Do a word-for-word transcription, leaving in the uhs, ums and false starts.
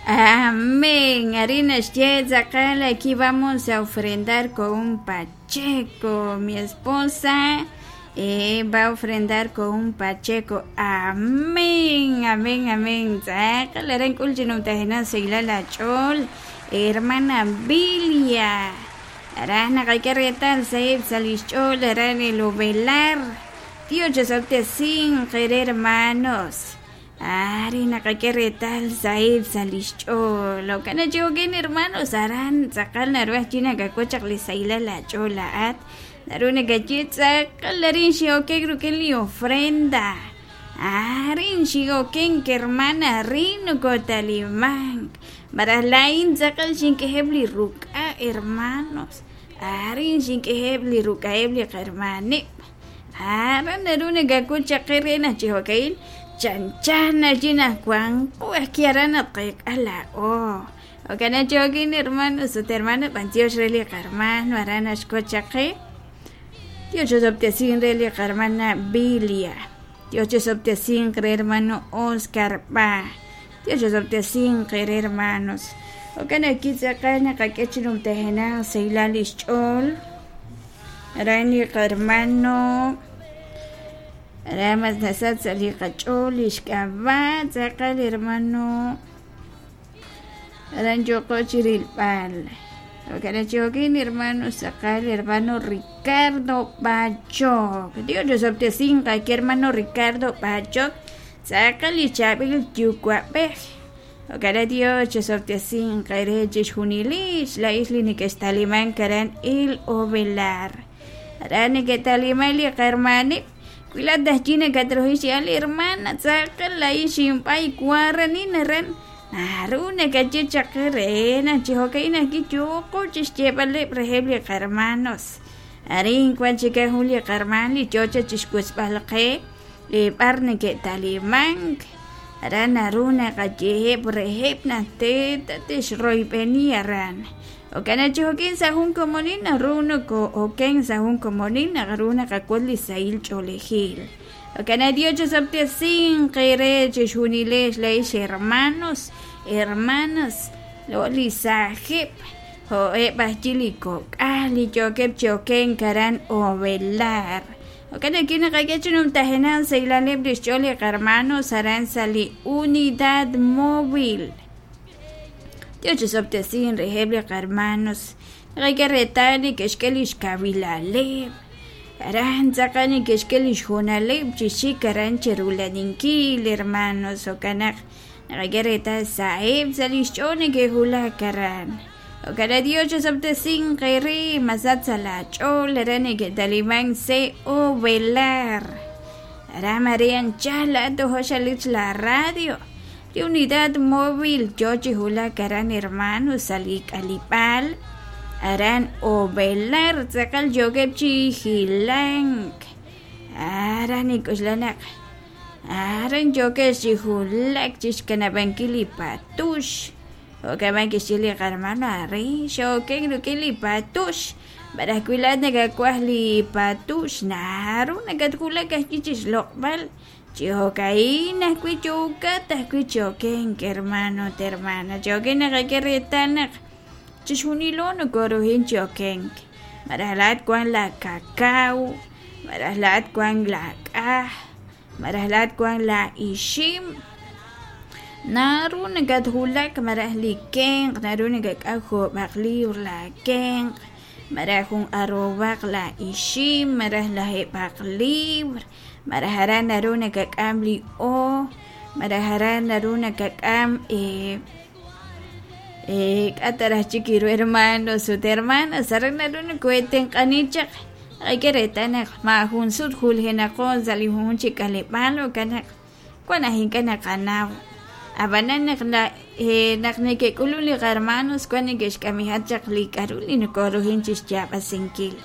Amén. Arina Tzakal, aquí vamos a ofrendar con un pacheco. Mi esposa eh, va a ofrendar con un pacheco. Amén, amén, amén. Tzakal, aren kulchinumtajena seilala chol. Hermana Bilia. Arana retal saib salischol, aran el ovelar. Tío sin querer hermanos. Ari naqakeretal saib salischol. Lo kana chihokin hermanos aran tzakal naruaj china kakochaq li sailala chola at. Naruna kachit tzakal arin xioken rukin li ofrenda. Arin xioken que hermana rino kotalimán. Maralain tzakal xinkejeb li ruka hermanos. Arin xinkejeb li rukaeb li hermanib. Aran naruna kakochaq rena chihokail. Chan chan allina Juan kiarana ala oh okana chogin hermanos o hermana pantios reli hermano arana shkochaqe Dios sin reli hermana Bilia. Dios sin hermano Oscar Pa. Dios sin hermanos. Okana kitzaqana qak'echinum tehena seilalish ch'ol arani hermano Ramas nasat saliqach'ol ixk'ab'a tzaqal hermano aran yoqochirilp'al okanachihokin hermano tzaqal hermano Ricardo Bachok Dios chosoptesin qaki hermano Ricardo Bachok tzaqal ichab'il yukuab'ej okana Dios chosoptesin qere chixjunilix la isli nikextaliman karan il ovelar aran niketaliman li qarmanib Cuilata china katrohishi ali hermana tzaqal la ishimpay kuaranina ran naruna kachichaqirena chihokaina kichuqu chixchepale rejebli hermanos arin kwan chika juli hermani chocha chixkuspalqe parne que talimank aran aruna kacheheb rejeb na teta tixroipeni aran okana chihokin sahun komonin aruno ko oken sahun komonin aruna kakuli sail cholejil okana Dios sin querer chixunilex leish hermanos hermanas lo lisajeb ho ebachili kok'ali chokeb choken karan ovelar okana kina kakechunum tajenan seilaleb lixcholi hermanos aran sali unidad móvil Dios chosoptesin rejebli hermanos requerretani kexkelish kawilaleb aran tzaqani kexkelish jonaleb chixik aran cherulaninkil hermanos okanaq requerreta saeb salixch'oni kejulak aran okana Dios chosoptesin qeri masat salach'ol arani ketaliman se ovelar ara Marian chala tojoxalich la radio de unidad móvil yochi hula karan hermano salik alipal aran ovelar tzakal yogepchi hilank aran ikuxlanak aran yokechi hulak chixkanabankili patush okabankixili hermano arri xoken rukili patush barakuilat nakakuajli patush naru nakatkulak ajkichixloqbal Chihokaina kuichukata kuichoken hermano hermana choken nakakerretanak chixunilono korohin choken marajlat kuan la cacao marajlat kuan la k'aj marajlat kuan la ixim naru nakatjulak marajliken naru nakak'aj job'aq libr la kenq maraj jun arrobaq la ixim maraj la jeb'aq libr Marajaran naruna kak'am li o marajaran naruna kak'am eh eh k'ataraj chikiru hermanos ut hermanas aran naruna kueten q'anichaq aykeretanaq ma jun sut juljenaqon sali jun chikaleb'al okanaq kuan ajink'an qanaw abananaq la eh naq nekek'ulun li hermanos kuan nekexk'amijat chaq li k'aru li nokorujin chixyab'asinkil.